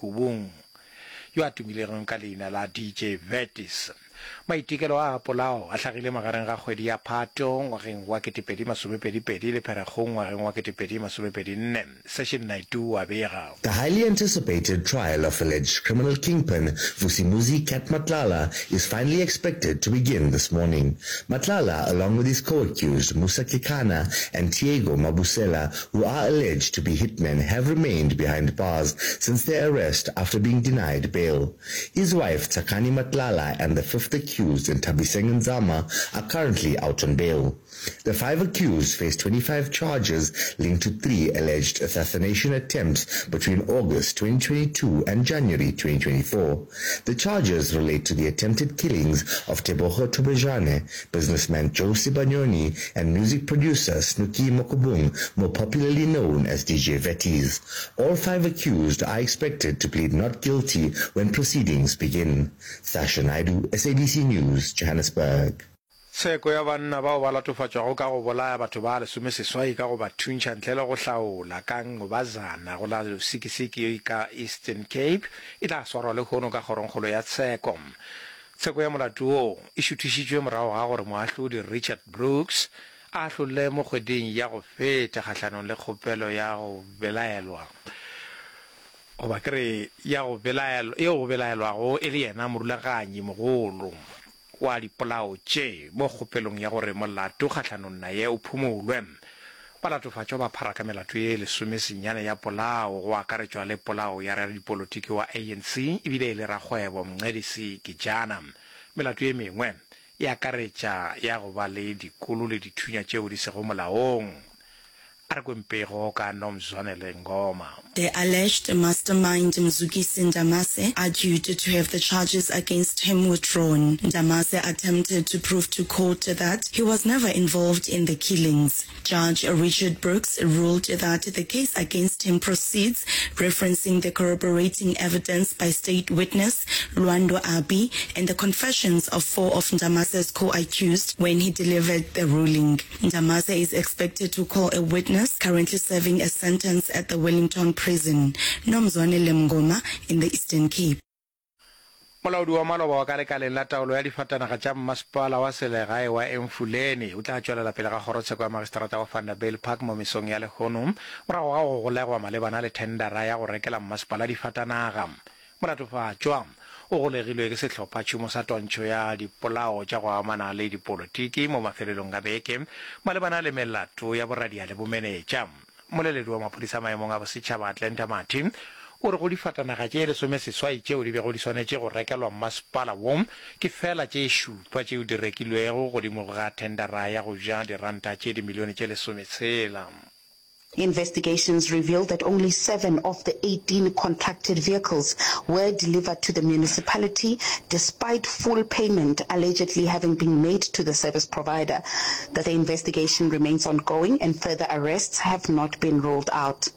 Mokubung, yo a tumilego ka leina la DJ Vertis. Maitekelo a a polao a hlagile magareng ga kgwedi ya Phato ngwageng wa 2022 le Pherekgong ngwageng wa 2024. Session Naidoo o a bega. The highly anticipated trial of alleged criminal kingpin Vusimuzi Cat Matlala is finally expected to begin this morning. Matlala, along with his co-accused Musa Kekana and Tiego Mabusela, who are alleged to be hitmen, have remained behind bars since their arrest after being denied bail. His wife, Tsakani Matlala, and the fifth accused, Nthabiseng Nzama, are currently out on bail. The five accused face 25 charges linked to three alleged assassination attempts between August 2022 and January 2024. The charges relate to the attempted killings of Tebogo Thobejane, businessman Joe Sibanyoni, and music producer Snooki Mokubung, more popularly known as DJ Vetties. All five accused are expected to plead not guilty when proceedings begin. Sasha Naidu, SABC News, Johannesburg. Tsheko ya banna bao ba latofatšwago ka go bolaya batho ba lesomeseswai ka go ba thuntšha ntle le go hlaola ka Ngobazana go la Lusikisiki ka Eastern Cape e tla swarwa lehono ka kgorongkgolo ya tsheko. Tsheko ya molato wo e šuthišitšwe morago ga gore moahlodi Richard Brooks a ahlole mo kgweding ya go feta kgahlanong le kgopelo ya go belaelwa goba ke re ya go belaelwa yeo go belaelwago e le yena morulaganyi mogolo wa dipolao tše mo kgopelong ya gore molato kgahlanong naye o phumolwe. Balatofatšwa ba phara ka melato ye lesomesenyane ya polao, go akaretšwa le polao ya radipolotiki wa ANC ebile e le rakgwebo Mncedisi Gijana. Melato ye mengwe e akaretša ya go ba le dikolo le dithunya tšeo di sego molaong. A re kweng pego ka Nomzwanele Ngoma. The alleged mastermind Mzukisi Ndamase argued to have the charges against him withdrawn. Ndamase attempted to prove to court that he was never involved in the killings. Judge Richard Brooks ruled that the case against him proceeds, referencing the corroborating evidence by state witness Lwando Abi and the confessions of four of Ndamase's co-accused when he delivered the ruling. Ndamase is expected to call a witness currently serving a sentence at the Wellington prison, Nomzwanele Mngoma in the Eastern Cape. Molaodi wa maloba wa ka lekaleng la taolo ya difatanaga tša mmasepala wa selegae wa Emfuleni o tla tšwelela pele ga kgorotsheko ya magistrata wa Vanderbijlpark mo mesong ya lehono morago ga go golegwa malebana le thendara ya go rekela mmasepala difatanaga. Molatofatšwa o golegilwe ke sehlophatšhomo sa twantšho ya dipolao tša go amana le dipolotiki mo mafelelong a beke malebana le melato ya boradia le bomenetša. Mmoleledi wa maphodisa maemong a bosetšhaba Atlanta Mathe o re go difatanaga tše lesomeseswai tšeo di bego di swanetše go rekelwa mmasepala wo ke feela tše šupa tšeo di rekilwego godimo ga thendara ya go ja diranta tše dimilione tše lesometshela. Investigations revealed that only seven of the 18 contracted vehicles were delivered to the municipality despite full payment allegedly having been made to the service provider. That the investigation remains ongoing and further arrests have not been ruled out.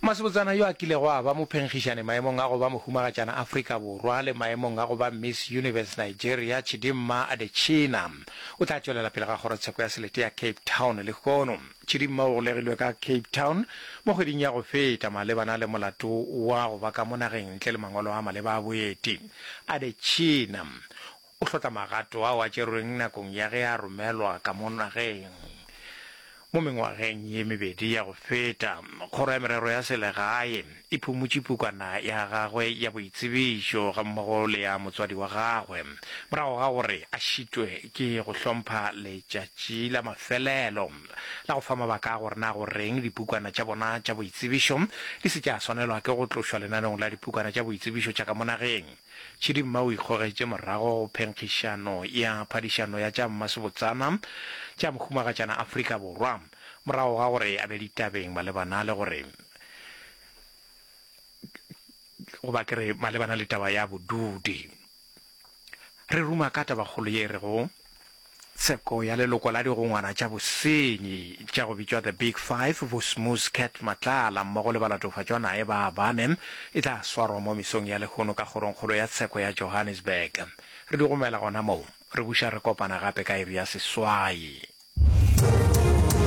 Masebotsana yo a kilego a ba mophenkgišani maemong a go ba Mohumagatšana Afrika Borwa le maemong a go ba Miss Universe Nigeria, Chidimma Adetshina, o tla tšwelela pele ga kgorotsheko ya selete ya Cape Town lehono. Chidimma o golegilwe ka Cape Town mo kgweding ya go feta malebana le molato wa go ba ka mo nageng ntle le mangwalo a maleba a boeti. Adetshina O hlotla magato ao a tšerweng nakong ya ge a romelwa ka mo nageng. Mo mengwageng ye mebedi ya go feta, Kgoro ya Merero ya Selegae e phumotše pukwana ya gagwe ya boitsebišo gammogo le ya motswadi wa gagwe morago ga gore a šitwe ke go hlompha letšatši la mafelelo la go fa mabaka a gore na goreng dipukwana tša bona tša boitsebišo di se tša swanelwa ke go tlošwa lenaneong la dipukwana tša boitsebišo tša ka mo nageng. Chidimma o ikgogetše morago go phenkgišano ya phadišano ya tša mmasebotsana tša Mohumagatšana Afrika Borwa morago ga gore a be ditabeng malebana le gore goba ke re malebana le taba ya bodudi. Re ruma ka tabakgolo ye e rego Tsheko ya leloko la digongwana tša bosenyi tša go bitšwa The Big Five, Vosmos Cat Matlala mmogo le balatofatšwa naye ba bane e tla swarwa mo mesong ya lehono ka kgorongkgolo ya tsheko ya Johannesburg. Re di gomela gona moo, re buša re kopana gape ka iri ya seswai.